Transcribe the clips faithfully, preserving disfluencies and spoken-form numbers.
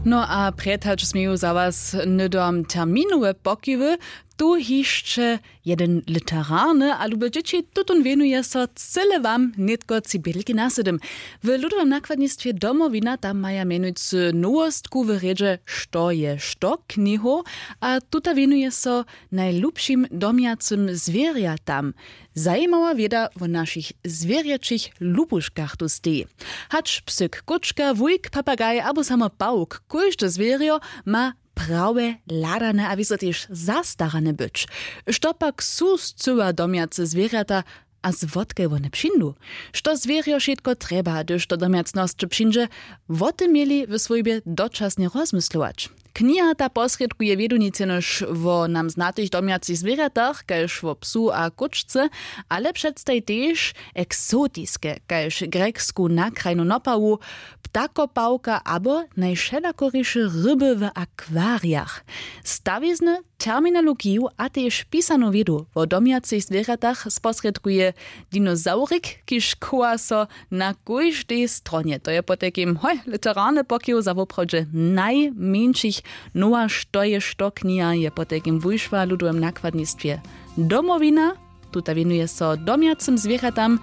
No a prjed hač směju za was hnydom terminowe pokiwy, tu hišće jeden literarny a lube dźěći tutón wěnuje so cyle wam nětko cibělki na sydym. W ludowym nakładnistwje Domowina tam maja mjenujcy nowostku w rědźe što je što knihow, a tuta wěnuje so najlubšim domjacym zwěrjatam. Zajimawa wěda wo našich zwěrjaćich lubuškach tu steji. Hač psyk, kóčka, wujk, papagaj abo samo pawk, kóžde zwěrjo ma prawje hladane a wězo tež zastarane być. Što pak su scyła domjace zwěrjata a zwotke wone přińdu? Što zwěrjo wšitko trjeba, hdyž do domjacnosće přińdźe? Wo tym měli w swójbje dočasnje rozmyslować. Kniha ta posrědkuje wědu nic jenož wo nam znatych domjacych zwěrjatach kaž wo psu a kóčce, ale předstaji tež eksotiske kaž grjeksku nakrajnu nopawu, ptakopawka abo najwšelakoriše ryby w akwarijach. Stawizny, terminologiju a tež pisanu wědu wo domjacych zwěrjatach sposrědkuje dinosaurik, kiž chowa so na kóždej stronje. To je potajkim hoj literarny pokiw za woprawdźe najmjeńšich. Nowa što je što kniha je potajkim wušła w ludowym nakładnistwje Domowina. Tuta wěnuje so domjacym zwěrjatam.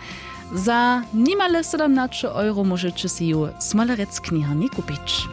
Za nimale sydomnaće euro móžeće sej ju smolerec kniharni kupić.